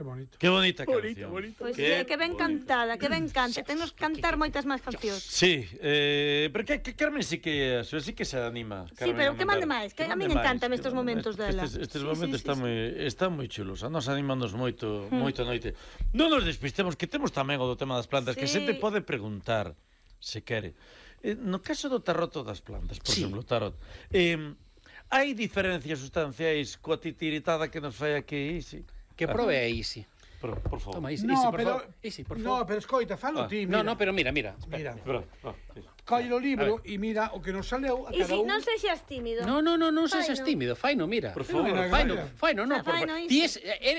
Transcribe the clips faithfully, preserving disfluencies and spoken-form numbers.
Que bonito. Que bonita canción. Bonito, bonito. Pois que, que ben cantada, que ben canta. Tenos que cantar moitas máis cancións. Sí, eh, porque que Carmen sí que sí que se anima. Sí, pero que mande máis, que a min encantame estes momentos dela. Estes, estes momentos están moi están moi chulos. A nos animamos moito, moito a noite. Non nos despistemos que temos tamén o do tema das plantas, que xente pode preguntar se quere. Eh, no caso do tarot das plantas, por exemplo, o tarot. Eh, hai diferencias sustanciais coa titiritada que nos fai aquí, Isi? Que prove a Isi. Por, por favor. Toma, Isi, No, Isi, por pero, favor. Isi, por no, favor. pero escoita, falo Ah. ti, No, mira. no, pero mira, mira. Mira, Espera, ah, sí. colle o libro e mira o que nos saleu a E cada si, un. non sexas tímido. No, no, no, non Faino. sexas tímido, faino, mira. Por favor, Mira, Faino, mira. faino, no, por Faino, favor. Isi. Ti es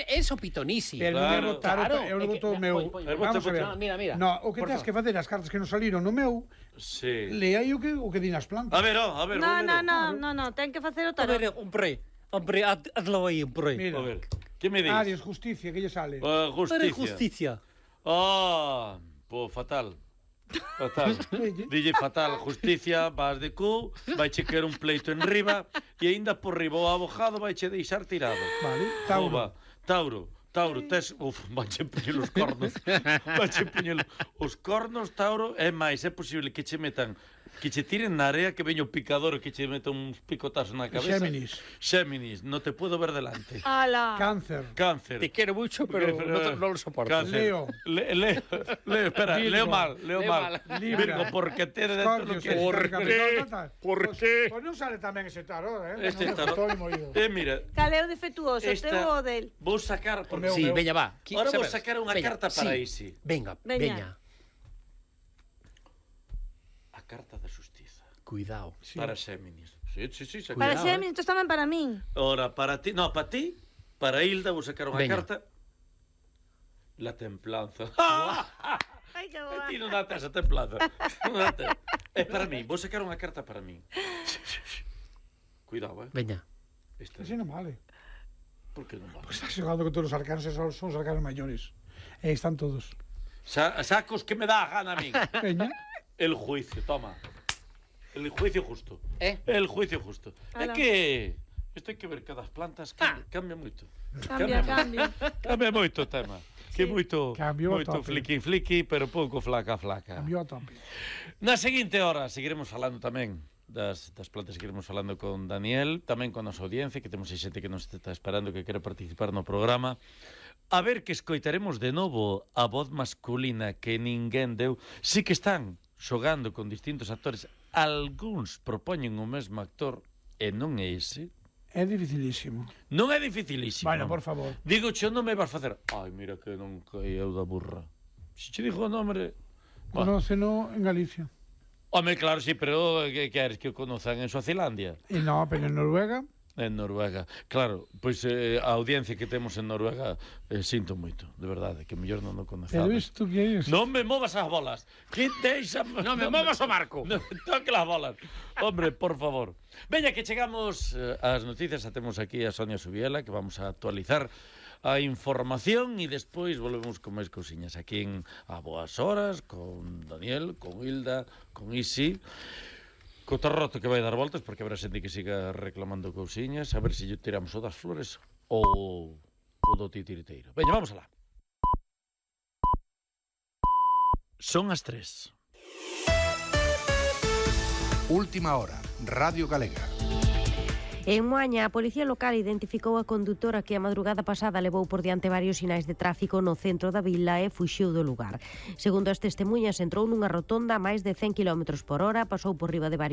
es o pitonisi. Pero non é Claro. botar, Claro, eu é non que- boto o meu. Poi, poi, Vamos a ver. Mira, mira. No, o que Por tens favor. que facer as cartas que nos saliron no meu, Sí. lea aí o que o que din as plantas. A ver, oh, a ver, No, vou no, ler. no, no, no, ten que facer o A tarot. ver, hombre, hombre, haz- hazlo ahí, hombre. Mira, A ver, que me dis? Aries, justicia, que lle sale. Uh, Para justicia. justicia. Ah, po fatal. Fatal. Dille fatal, justicia, vas de cu, vai che querer un pleito en riba e aínda por riba o abogado vai che deixar tirado. Vale, Tauro. Oba, Tauro, Tauro, tes, uf, vai che puñer os cornos. Vai che puñer os cornos, Tauro, é máis, é posible que che metan que che tiren na area, que veño o picador e que che meta uns picotazos na cabeza. Géminis. Géminis, no te puedo ver delante. Ala. Cáncer. Cáncer. Te quiero mucho, pero no, te- no lo soporto. Cáncer. Leo. Le, Leo, Leo, espera, Virgo. leo mal, leo, Leo mal. mal. Libra. Virgo, porque te dentro Scorpio, lo que... Sagitario, Capricornio, tal. ¿Por Pois- qué? Pois non sale tamén ese tarot, eh? Este Non me tarot. gustou ni moído. Eh, mira, Cal é o defectuoso, esta... teu ou del? Vou sacar... Porque... meu, Sí, meu. veña, va. Qui- Ahora vou sabes? sacar unha Veña, carta para sí. Isi. Venga, Veña. veña. A carta da justiza. Cuidado. Sí. Para Géminis. Sí, sí, sí. Sacar. Para Cuidado, Xéminis, isto tamén para min. Ora, para ti... No, para ti, para Hilda, vou sacar unha Veña. carta. La templanza. Ai, que boa. Ti non date esa templanza. Non date. É para mí. Vou sacar unha carta para mí. Cuidado, eh. Veña. Esta. Así non vale. Por que non va? Pois estás xogando con todos os arcanos e son, son os arcanos maiores. E están todos. Sa sacos que me dá a gana a mí. Veña. El juicio, toma. El juicio justo. Eh? El juicio justo. É Ala. que isto hai que ver que das plantas cambia, cambia moito. Cambia, cambia. Cambia moito o tema. Que moito, Cambiou a moito tope. fliqui fliqui, pero pouco flaca flaca. Cambiou a tope. Na seguinte hora seguiremos falando tamén das, das plantas, seguiremos falando con Daniel, tamén con a nosa audiencia, que temos aí xente que nos está esperando que quere participar no programa. A ver que escoitaremos de novo a voz masculina que ninguén deu. Sí que están xogando con distintos actores. Algúns propoñen o mesmo actor e non é ese. É dificilísimo. Non é dificilísimo. Bueno, por favor. Digo, che non me vas facer. Ai, mira que non caeu da burra. Se che dixo o nombre... Bah. Conóceno en Galicia. Home, claro, sí, pero que queres que o conozan en Suazilandia? E no, pero en Noruega. En Noruega. Claro, pois eh, a audiencia que temos en Noruega eh, sinto moito, de verdade, que mellor non o conozades. Pero isto que é? Non me movas as bolas. Que deixa... Non me movas o marco. Non me toque las bolas. Hombre, por favor. Veña, que chegamos eh, ás noticias, a temos aquí a Sonia Subiela, que vamos a actualizar a información e despois volvemos con máis cousiñas aquí en A Boas Horas, con Daniel, con Hilda, con Isi, co tarroto que vai dar voltas, porque habrá xente que siga reclamando cousiñas, a ver se lle tiramos o das flores ou o do titiriteiro. Veña, vamos alá. Son as tres. Última hora, Radio Galega. En Moaña, a Policía Local identificou a condutora que a madrugada pasada levou por diante varios sinais de tráfico no centro da vila e fuxiu do lugar. Segundo as testemunhas, entrou nunha rotonda a máis de cen kilómetros por hora, pasou por riba de varios